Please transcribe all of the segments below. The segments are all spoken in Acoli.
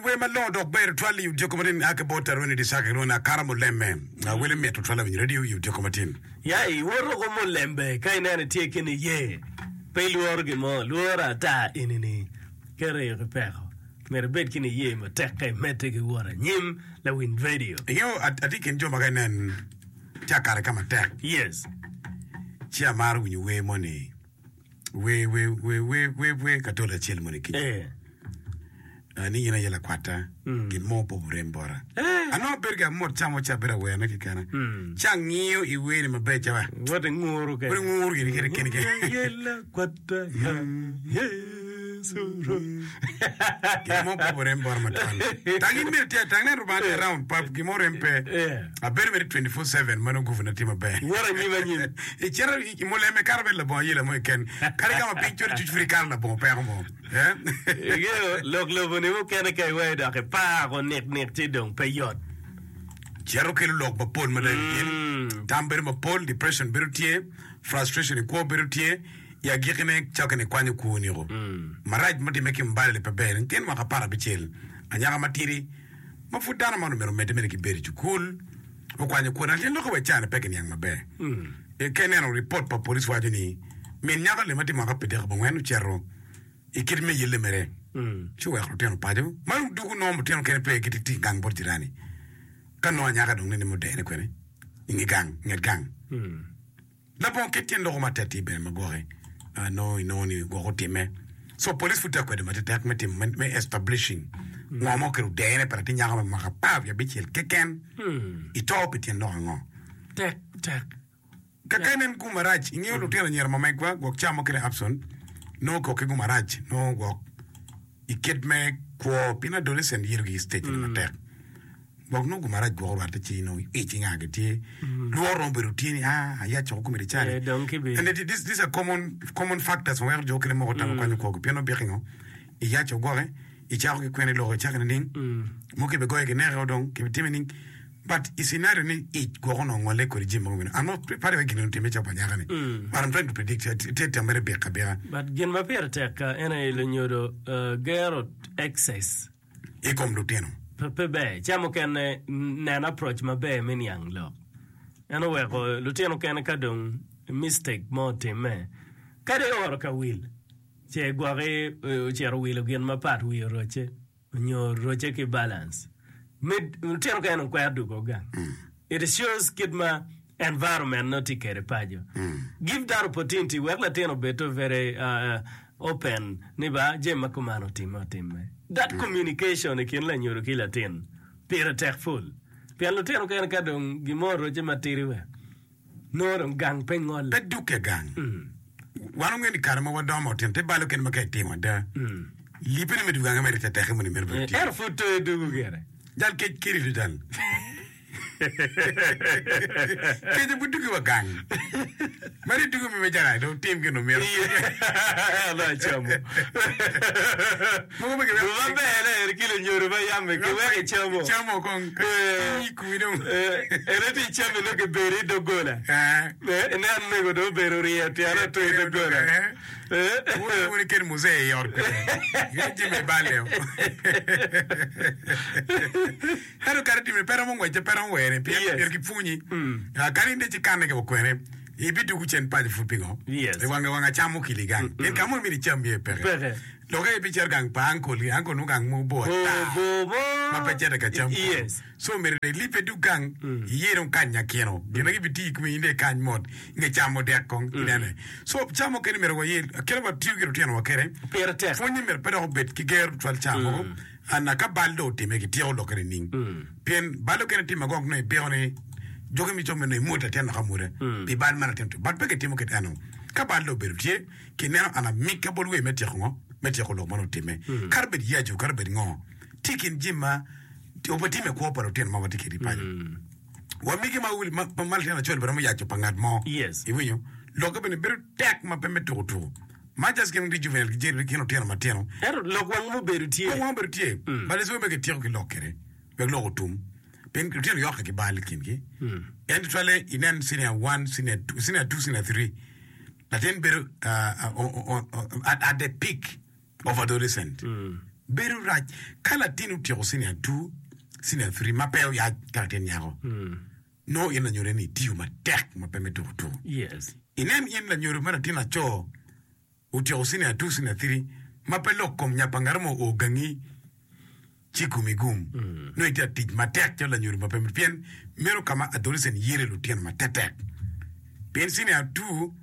kin wer malongo dok ber tutwal i odiko matin a ki bot Aroni Disaka kilwongo ni Akara Muleme. Wele mit tutwal awinyo radio i odiko matin. Ya iwoto ko mulembe ka ineno itye ki niye, pe ilworo gin mo, lworo ata eni-ni keto i peko. Myero ibed ki niye matek ka imedde ki wot anyim lawiny radio. Ingeyo atye i kin jo ma ka inen tye akare ka matek Yes. ci amaro winyo wer moni wer wer wer wer wer wer katolo acel moni kica Eh. Ah, ni in aye lakwatta gin mo pe oburem bota anongo abedo ki amot ca mo ca abedo awerone kekena ci angiyo i werni maber ca ba Wot inguru kene. Wot inguru gini kene kene kene. In aye lakwatta ya Yecu Rwot. Gin mo pe oburem bota matwal tang in myero tye tang nen Rubanga tye around pa gin mo rem pe Yeah. abedo mere 24/7 ma nongo guvuna tye maber Wot anyim anyim. Icito i muleme kato bedo labongo ayela mo keken kadi ka ma piny col cuc pud ikato labongo peko mo. Ingeyo lok lobo-ni mukene ka iweyo dok ipako niknik ci dong pe yot. Cito kelo lok mapol mada i kin. Tam bedo mapol, depression bedo tye, frustration i kwo bedo tye, i agikkine cakke ni kwanyo kwoni-o. Marac mutimme ki Mbale-ni pe ber. Latin mwaka aparabicel, anyaka matidi ma pud dano man omyero omedde mere ki bedo i cukul, okwanyo kwone. Latin lokke wa i caa-ni pe kiniang maber. Ka ineno ripot pa police waco ni min nyako-ni ma tye mwaka pyedek abongwen ocito i kit me yelle mere ci oweko lutino paco ma dong dugu nongo lutino kene pe gitye tic gang bot jirani ka nongo anyaka dong nene mudene kwene i nge gang nget gang labongo kit tyen loko matek tye bene ma gwoki nongo inongo ni gwok otime so police pud tye ka kwedo matetek me timo me establishing ngo ma okelo dene pa latin nyako me mwaka 15 keken i to pi tyen lok ango Tek tek. Ka ka inen gum marac, ingeyo lutino anyira ma megwa gwok ca mukene Abson nongo kok ki gum marac nongo gwok i kit me kwo pien adolescent yelo ki stage eni matek gwok nongo gum marac gwok orwatte ci nongo ic inga gi tye lworo romo bedo tye ni ah ayac coko komedi cani Eh, dong kibi- and it, this, these are common, common factors ma weko jo okene moko tam kwanyo kwogi pien obiko ingo iyac ogwoke icako ki kwene iloko icako nining mo kibigoyo kineke dong kibitime ning But i scenario ni ic gwok onongo ngole kodi jami mogo meno. I'm not padi wa gin otimme calo pa anyaka ni. But I'm trying to predict tye tam mere bik abika. But gin ma pire tek ka en aye lunyodo gero excess. I kom lutino. Pe ber. Ca mukene nen approach maber me niang lok. En oweko lutino kene ka dong mistake mo otimme kadi oro ka wil ce gwoki ocito wilo gin mapat wiye orocce. Onyo roce ki balance me lutino ka en okwero dugo gang. It shows kit ma environment nongo tye kede paco. Give that opportunity wek latin obed to very open ni ba jami ma kuman otime otime. That communication i kin lanyodo ki latin pire tek full. Pien lutino kene ka dong gin mo oroce matidi wek Nongo dong gang pe ngolle. Pe dukke gang. Wan wangeyo ni kare ma wadongo ma watino te bal okene ma ka itimo ada, lippene me dwogo gange mere tetekke moni mere bene tye. Ento pud to idwogo gire. Jal kec keri tutwal. Kec pud dwogi wa gang. Meno idwogo mi me jal dong tim gin omyero. Ento acamo. Mogo ma giweko Guma ber eri ki lunyodo ma yam giweko icamo. Icamo kong. Eh. Kwi dong. Eh, ene tye icami nongo gibedo i doggola. Eh. Eh, inen mego dong obedo oryeyo tyene otur i doggola. Eh. Eh. Wun wun iket muzee i ot kwede. Gin jami ibale. Ento kadi time pe romo ngwecce pe romo were pien Yes. myero gipwonyi. Ah, Kadi in dong ikanne ki kwene ibidwogo cen paco pud pingo? Yes. I wange wang acam okili gang. Pien ka mo myero icam iye peke. Peke. Lokke ibicito gang pa uncle gi, uncle nongo gang mo bor ata Bor bor mo. ma pe cito ka cam kunu. Yes. So myero dong ilibbe dug gang, iye dong kany nyakino. Gin ma gibitiyo i komi in dong ikany mot i nge camo dek kong inene. So ca mukene myero waye, kit ma watiyo ki lutinowa kwede, Pire tek. pwonye myero pe dok obed ki gero tutwal ca mogo. Anna ka bal dong otimme kityeko lokke nining? Pien bal okene tye magok nongo ibiko ni jogi mico me nongo imwod latin dok amwoda pi bal ma latin otimo. But pe kitimo kit eno. Ka bal dong obedo tye, kineno an amika bot wer me tyeko ngo? Me tyeko lok ma nongo otimme. Kadi obed yacu, kadi obed ngo, tye i kin jami ma obitimme i kwo pa lutino ma watye kwede i paco. Wa migi ma ma ma latin acel bene romo yaco pa ngat mo. Yes. Iwinyo? Lokke bene bedo tek ma pe me tuko tuko. Ma just gin gitye juvenile ki gin lutino matino. Ento lok wang mubedo tye. Lok wang obedo tye. But it's wek kityeko ki lok kwede. Wek lok otum. Pien lutino yokke ki bal i kingi. En tutwalle inen senior one, senior two, senior two, senior three. Latin bedo uh, uh, uh, uh, at, at the peak of adolescent. Bedo rac ka latin otyeko cinia two, cinia three ma pe oyac ka latin nyako. Nongo in lanyodo ni itiyo matek ma pe me tuko tuko. Inen in lanyodo ma latin laco otyeko cinia two, cinia three ma pe lok kom nya pa ngat mo oo gangi ci komi gum. Nongo itye ka tic matek calo lanyodo ma pe pien meno ka ma adolescent yelo lutino matetek. Pien cinia two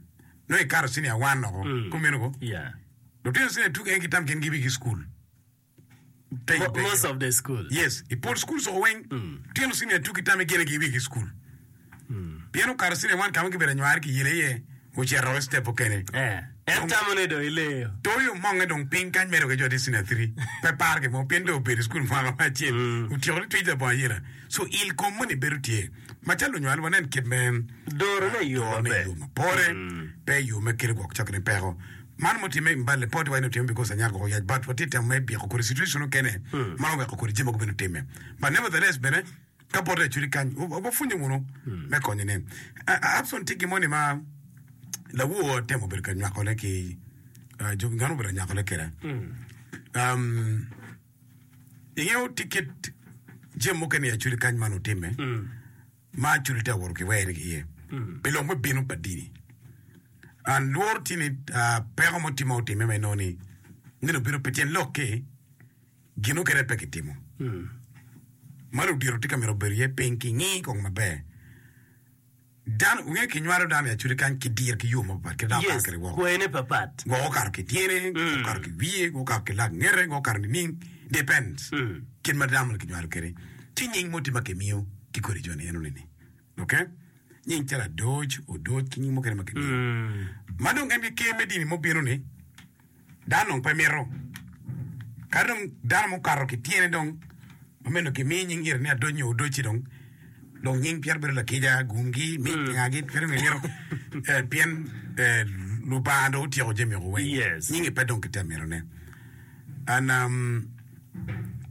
nongo ikato cinia one oko. Kumeno ko? Lutino cinia two keken gitam gin gibi ki school. Pe Mo- pe. Most of the school. Yes, i pol school coko weng lutino cinia two gitame gin aye gibi ki school. Pien okato cinia one ka ma gibedo anywari kiyelo iye ocito i step mukene. Eh, en tamo ni dong ileyo. Toyo omonge dong piny kany medo ki jo tye cinia three pe paro gin mo pien dong obedo i school mwaka me acel otyeko ni twic labongo ayela. So il kom moni bedo tye. Macalo lunywal wanen kit me Dorone i yo dorone i maber. yo mapore pe i yo me kelo gwok cokone peko. Man mutimme i Mbale pe watye ni otimme because anyaka oyac but watye temo me byeko kodi situation mukene ma oweko kodi jami mogo bene otimme. But nevertheless bene ka bote acwali kany wapwonye wunu me konyo ne. Abson tye gin moni ma lawor temo bedo ka nywakone ki jo ngat obedo ka nywakone kwede. Um, ingeyo tye kit jami mukene i acwali kany man otimme ma acwali tye ka woto ki were ki iye pi lok me bino pa dini. And lworo tye ni peko mo tye ma otimme ma inongo ni nino obino pi tyen lok ki gin mukene pe kitimo. Ma ludito tye ka mito bedo iye piny ki ngi kong maber. Dano wunge kinywalo dano i acwali kany ki diro ki yo mapapat kit dano okato Yes, kwede woko. kwene papat. Gwok okato ki tyene, gwok okato ki wiye, gwok okato ki lak ngete, gwok okato nining, depends kit ma dano kinywalo kwede. Ci nying mo tye ma kimiyo ki kodi joni enoni ni. Ok? Nying calo Adoc, Odoc ki nying mukene ma kimiyo. Ma dong en ki ker me dini mubino ni, Dano dong pe mito. Ka dong dano mukato ki tyene dong ma meno kimiyo nying ire ni adoc nyo odoc-ci dong dong nying pyere bedo lakica, gumgi, mic, ngagi pe dong gimito eh, pien eh, Lubanga dong otyeko jami woko weng. Yes. Nyingi pe dong kitye mitone. And um,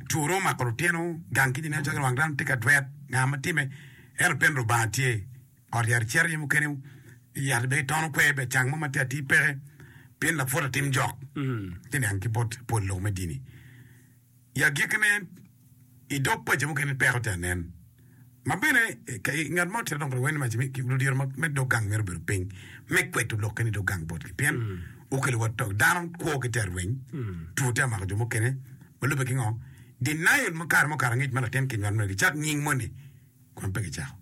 two dong omako lutino gang ki jami calo wang dano tye ka dwet nga ma time ento pien Lubanga tye. Ot yat icito iye mukene yat bene itono kwer bene cang mo ma tye atir peke pien lapwot atim jok ci niang ki bot pol lok me dini. I agikkine i dog paci mukene peko tye anen ma bene ngat mo tye dong weng ni ludito me dog gang myero obedo piny me kweto lokke ni dog gang botgi pien okelo wa to dano kwo ki tye arweny two tye amako jo mukene ma lubbe ki ngo denial ma kare mukato angec ma latin kinywalo myero gicak nying moni kun pe gicako.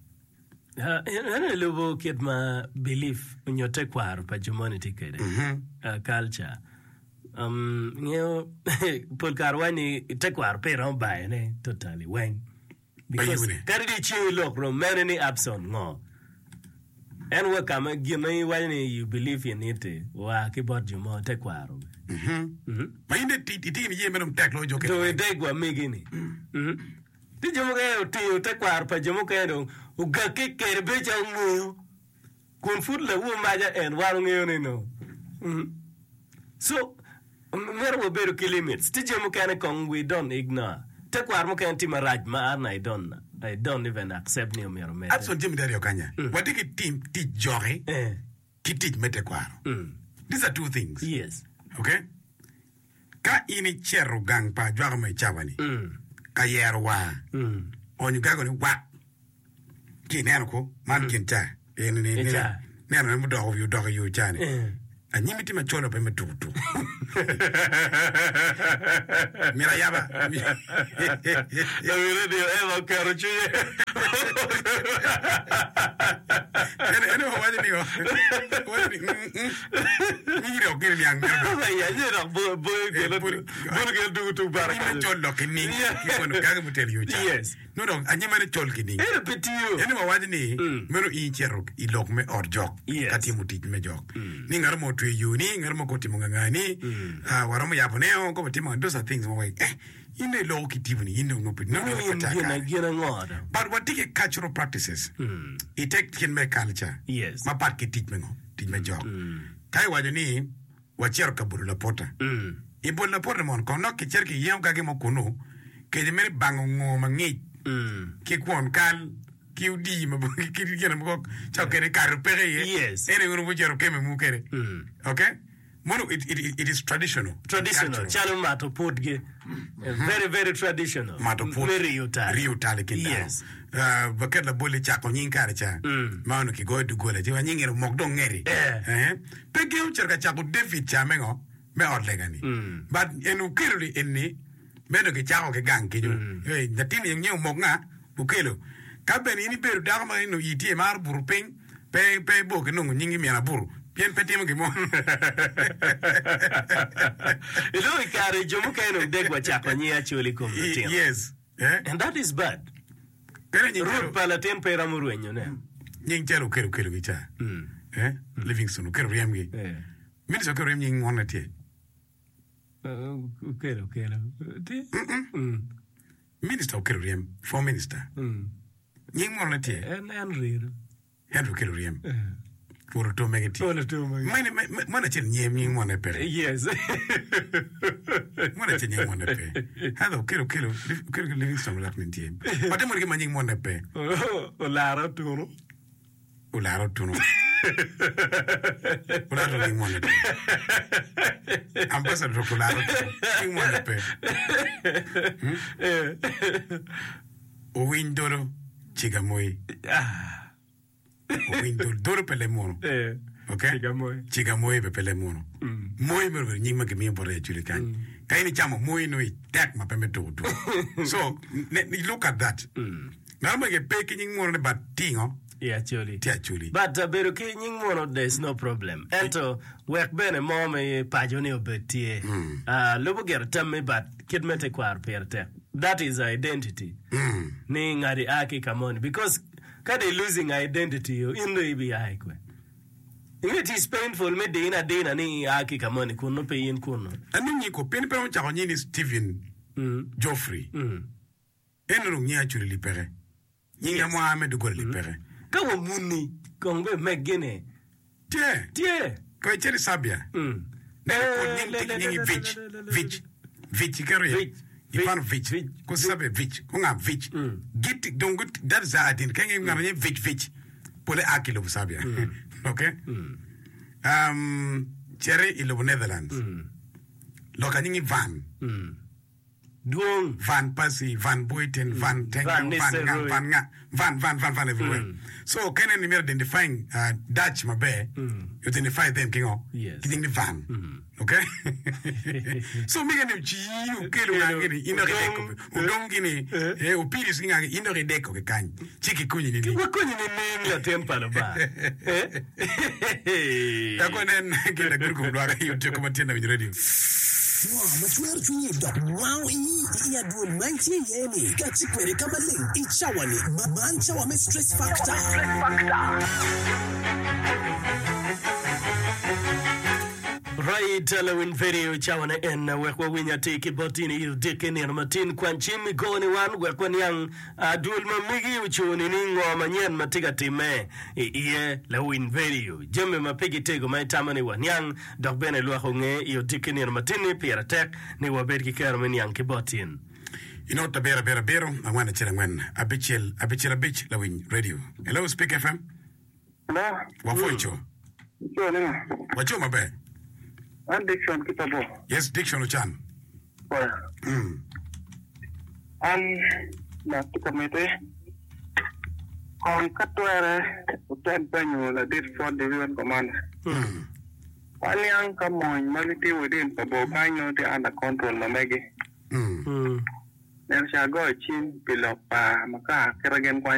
En aye lubo kit ma belief nyo tekwaro pa jo moni tye kwede, culture. Ingeyo pol kare waco ni tekwaro pe iromo bayone totally weng. Because kadi dong iceng ilok rom mene ni Abson ngo, en wa ka ma gin ma iwaco ni you believe in it-ti oa ki bot jo mo tekwaro. Ma in dong itye ki niye me dong tek loyo jo kene. Dong ideg wa megi-ni. Ci jo mukene otingo tekwaro pa jo mukene dong ogakke kwede bedo calo ngeyo kun pud lawu maca en wan ongeyo ni no. So myero wabedo ki limits. Tye jo mukene kong we don't ignore. Tekwaro mukene tye marac ma an I don't I don't even accept ni omyero omedde. Abson jami aryo kanya. Watye ki tim tic joki ki tic me tekwaro. These are two things. Yes. Okay? Ka in icito gang pa ajwaka mo i cawa-ni ka yero war, onyo gago ni wak, ci ineno ko man gin ca, nenone mudoko wiye odok i yo ca-ni, anyimi tye macol wa pe me tuko tuko. Myero ayaba. Lawi redio Eva oketo cwinye. En owaco ni, owaco ni, mm, mm. Nyiri ok gin niang meno bene. Iya aye dok bo- boyo kelo Eh, pud- bolo kelo tugo tung bara Anyima kenyo. col dok ki ning Yeah. ki kono gagi mutelo yo ca. Yes. No dok anyima ne col ki ning. Ento pe tiyo. En wawaco ni Mm. meno in icito i lok me ot jok Yes. ka timo tic me jok. Ni ngat mo otweyo yo ni, ngat mo ko otimo nganga ni, ah, waromo yabo ne o, ko watimo those are things ma wai eh in dong iloko ki tipo ni in dong nongo pe nongo Nongo pe in tye gin akare. gin ango dong? But watye ki cultural practices i tek kit me culture Yes. mapat ki tic me ngo? Tic me jok. Ka iwaco ni wacito ka bolo lapota, i bolo lapota mono kong dok kicito kiyengo gagi mo kunu, kece mere bango ngo mangic ki kwon kal ki odii ma ki gin mogo ca kede kato peke iye, Yes. en aye wun wucito wukeme mu kede. Okay? Mono it, it, it is traditional. Traditional, Cultural. calo mato putgi. Very, very traditional. Mato put. Me riyo tal. Riyo tal i kin dano. Yes. Uh, waket labol i cako nying kare ca ma onongo kigoyo doggola ci wa nying eno mok dong ngeti. Eh. Eh. Pe gin ocito ka cako David ca me ngo? Me ot lega ni. But en okelo ni eni meno kicako ki gang kenyo. Eh, latin ni nyinge omok nga? Okelo. Ka bene in ibedo dako ma eno ii tye imaro buto piny, pe pe ibor ki nongo nyingi min abuto pien pe timo gin mo. Iloko i kare jo mukene dong deg wa cako nying Acholi i kom lutino. Yes. Eh? And that is bad. Pene nying calo Root pa latin pe romo rwenyone. nying calo okelo okelo gi ca. Eh? Livingstone okelo ryemgi. Eh. Minister okelo ryem nying wonne tye. Okelo okelo. Tye? Minister okelo ryem, former minister. Nying mono ne tye? En Henry. Henry okelo ryem. Rwot oto mege tye. Rwot oto mege. Mene, me, me, meno acel nyem nying mone peke. Yes. Meno acel nying mone pe. Heather okelo okelo okelo Livingstone olak ni tye. Ote mono ki ma nying mone pe. Olara otunu. Olara otuno. Olara otuno nying mone pe. Ambassador dok olara otuno nying mone pe. Hmm? Owiny dolo ciga moi. Owiny dolo dolo pe leb munu. Okay? Ciga moi. Ciga moi be pe leb munu. Moi meno obedo nying ma kimiyo bote actually kany. Ka in icamo moi nongo itek ma pe me tuko tuko. So, ne, look at that. Ngat mo ege pe ki nying munu ni but tingo I Acholi. tye Acholi. But uh, bedo ki nying munu there is no problem. Ento wek bene mo me paco ni obed tye. Uh, lubo gire tammi but kit me tekwaro pire tek. That is identity. Ni ngati a ki ka moni because ka they losing identity in dong ibi a i kwe. It is painful me dine adina ni ia ki ka moni kun nongo pe in kunnu. Anongi ko pien pe ocako nying ni Stephen Geoffrey. En onongo nyinge Acholi lipeke. Nying amwaa me doggola lipeke. Ka wa muni kong be meggi ni Tye. tye. Ko icito i Serbia, neno kod nying tye ki nyingi Vic, Vic, Vic iketo iye. Vic, Ikwano Vic, Vic, ko Serbia Vic, ko nga Vic. Giti dong gut that is their identity. Ka ingeyo ngat ma nyinge Vic Vic, pole a ki i lobo Serbia. Okay? Um, cito i lobo Netherlands. Loka nyingi Van. Dwong. Van Persie, Van Buiten, Van Van Tenga, Van nga, Nistelrooy. Van nga, Van, Van, Van, Van everywhere. So ka ineno ni myero identifying uh, Dutch maber, you identify them ki ngo? Yes. Ki nying ni Van. Okay? so mege ni ci okelo nga gini, in dok ideko, odong gini, eh, opiris ki nga gini, in dok ideko ki kany. Ci kikonyi ni ni. Wakonyi nining latin pa Lubanga? Eh? Dok wanen gin laguru kom lwak i otyeko ma tye lawiny redio. Ngo ma cwero cwinyi dok wango ii i adwol ma itye iye-ni? Kati kwede ka maleng i cawa-ni. Man cawa me Stress Factor. Right, lawiny vedio cawane en wek wawiny atir ki bot in i odiki nino matin. Kwany cim igo ni wan wek waniang Adwol ma megi ocung ni ngo manyen ma tye ka timme i iye? Lawiny vedio, jami ma pigi tego ma itamo ni waniang dok bene lwak onge i odiki nino matin-ni pire tek ni wabed ki kero me niang ki bot in. I not abiro abiro abiro angwen acel angwen abicel abicel abic Lawiny Radio. Hello Speak FM. Hello. Wapwoyo co. Ico ni ngo? Waco maber. An Dickson ki Pabo. Yes Dickson Ocan. Pwoyo. Mm. An lok tye ka miti kong ka twere wutem penyo ladit Fort Division Commander. Mm. Waniang ka mony ma gitye within Pabo kany nongo tye under control ma megi. Mm. Neno ca agoyo cim pi lok pa makar kite gin kwanyo.